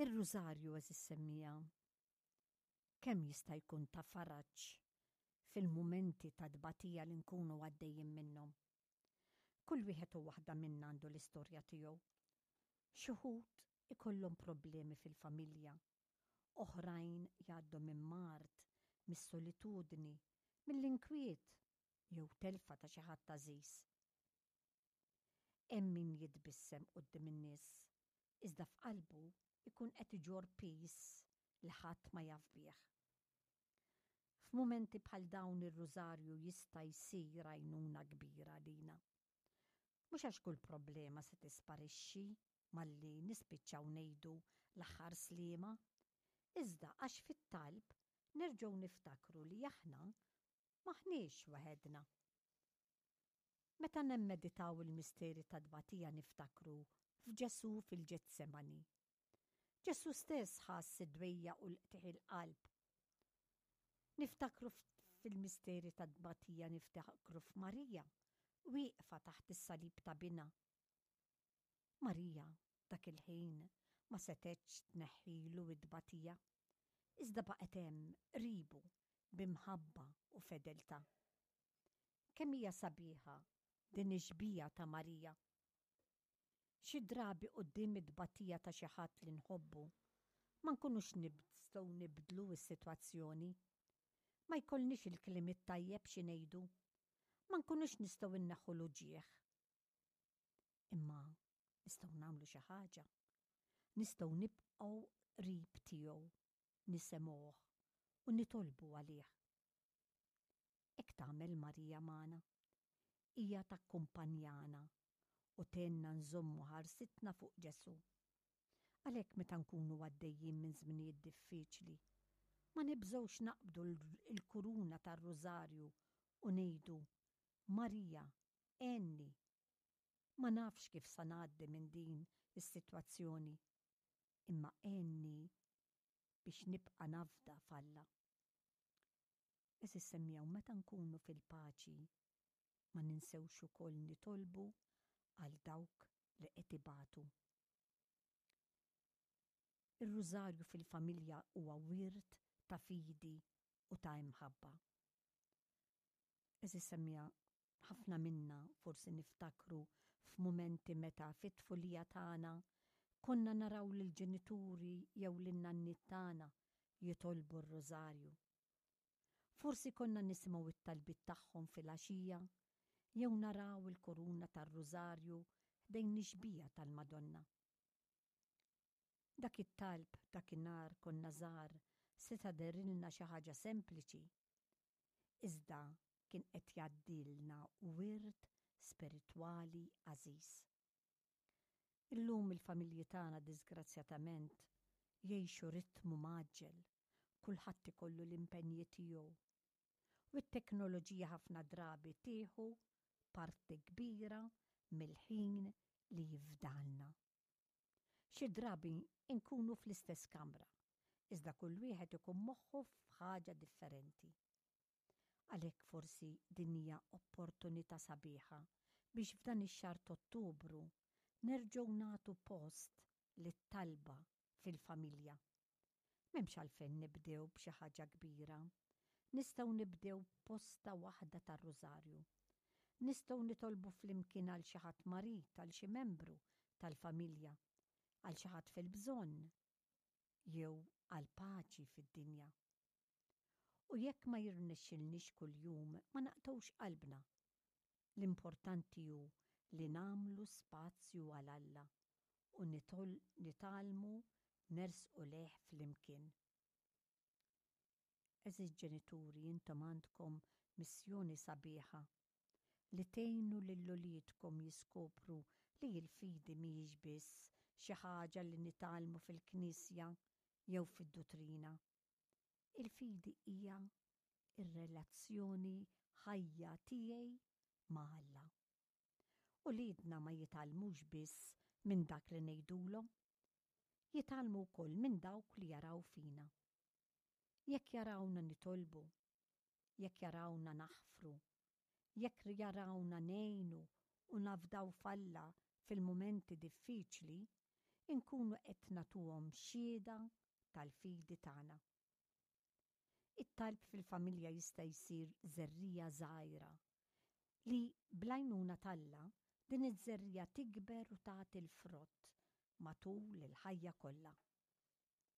Ir-Rużarju għeżież semmiegħa kemm jista' jkun ta' faraġ fil-mumenti ta' tbatija li nkunu għaddejjin minnhom. Kull wieħed u waħda minna għandu l-istorja tiegħu. Xi wħud ikollhom problemi fil-familja, oħrajn jgħaddu minn mard, mis-solitudni, mill-inkwiet jew telfa ta' xi ħadd għażiż. Hemm min jitbissem quddiem in-nies, iżda f'qalbu jkun qed iġorr piż li ħadd ma jaf bih. F'mumenti bħal dawn ir-Rużarju jista' jsir għajnuna kbira għalina. Mhux għax kull problema se tisparixxi malli nispiċċaw ngħidu l-aħħar sliema, iżda għax fit-talb nerġgħu niftakru li aħna m'aħniex waħedna. Meta nemmeditaw il-misteri tat-tbatija niftakru f'Ġesù fil-Ġetsemani. Ġesù stess ħass id-dwejjaq u l-qtigħ il-qalb. Niftakru fil-misteri tat-tbatija niftakru f'Marija wieqfa taħt is-salib ta' binha. Marija dak il-ħin ma setgħetx tneħħilu t-tbatija, iżda baqgħet hemm qribu bi mħabba u fedeltà. Kemm hija sabiħa din ix-xbieha ta' Marija! Xi drabi quddiem it-tbatija ta' xi ħadd li nħobbu, ma nkunux nistgħu nibdlu s-sitwazzjoni. Ma jkollniex il-kliem it-tajjeb xi ngħidu. Ma nkunux nistgħu nneħħu l-uġigħ. Imma nistgħu nagħmlu xi ħaġa. Nistgħu nibqgħu qrib tiegħu, nisemgħuh u nitolbu għalih. Hekk tagħmel Marija magħna. Hija takkumpanjana u tgħinna nżommu ħarsitna fuq Ġesù. Għalhekk meta nkunu għaddejjin minn żminijiet diffiċli, ma nibżgħux naqbdu l-kuruna tar-Rużarju u ngħidu, Marija, għenni! Ma nafx kif sa ngħaddi minn din is-sitwazzjoni, imma għenni biex nibqa' nafda f'Alla. Għeżież semmiegħu meta nkunu fil-paċi ma ninsewx ukoll nitolbu għal dawk li qed ibatu. Ir-Rużarju fil-familja huwa wirt ta' fidi u ta' imħabba. Għeżież semmiegħa Ħafna minna forsi niftakru f'mumenti meta fit-tfulija tagħna konna naraw lill-ġenituri jew lin-nanniet tagħna jitolbu r-Rużarju. Forsi konna nisimgħu t-talbiet tagħhom filgħaxija jew naraw il-kuruna tar-Rużarju ħdejn ix-xbieha tal-Madonna. Dak it-talb dakinhar konna żgħar seta' dehrilna xi ħaġa sempliċi. Iżda kien qed jgħaddilna wirt spiritwali għażiż. Illum il-familji tagħna diżgrazzjatament jgħixu ritmu mgħaġġel, kulħadd ikollu l-impenji tiegħu. U t-teknoloġija ħafna drabi tieħu parti kbira mill-ħin li jifdalna. Xi drabi nkunu fl-istess kamra, iżda kull wieħed ikun moħħu f'ħaġa differenti. Għalhekk forsi din hija opportunità sabiħa biex f'dan ix-xahar t'Ottubru nerġgħu nagħtu post lit-talba fil-familja. M'hemmx għalfejn nibdew b'xi ħaġa kbira. Nistgħu nibdew b'posta waħda tar-Rużarju. Nistgħu nitolbu flimkien għal xi ħadd marid, għal xi membru tal-familja, għal xi ħadd fil-bżonn, jew għall-paċi fid-dinja. U jekk ma jirnexxilniex kuljum, ma naqtgħux qalbna. L-importanti hu li nagħmlu spazju għal Alla u nitgħallmu nersqu lejh flimkien. Għeżież ġenituri intom għandkom missjoni sabiħa li tgħinu lil uliedkom jiskopru li l-fidi mhijiex biss xi ħaġa li nitgħallmu fil-knisja jew fid-dutrina. Il-fidi hija r-relazzjoni ħajja tiegħi ma' Alla. Uliedna ma jitgħallmux biss minn dak li ngħidulhom. Jitgħallmu wkoll minn dawk li jaraw fina. Jekk jarawna nitolbu, jekk jarawna naħfru, jekk jarawna ngħinu u nafdaw f'Alla fil-mumenti diffiċli, Inkunu qed nagħtuhom xhieda tal-fidi tagħna. It-talb fil-familja jista' jsir żerriegħa żgħira li bl-għajnuna t'Alla din iż-żerriegħa tikber u tagħti l-frott matul il-ħajja kollha.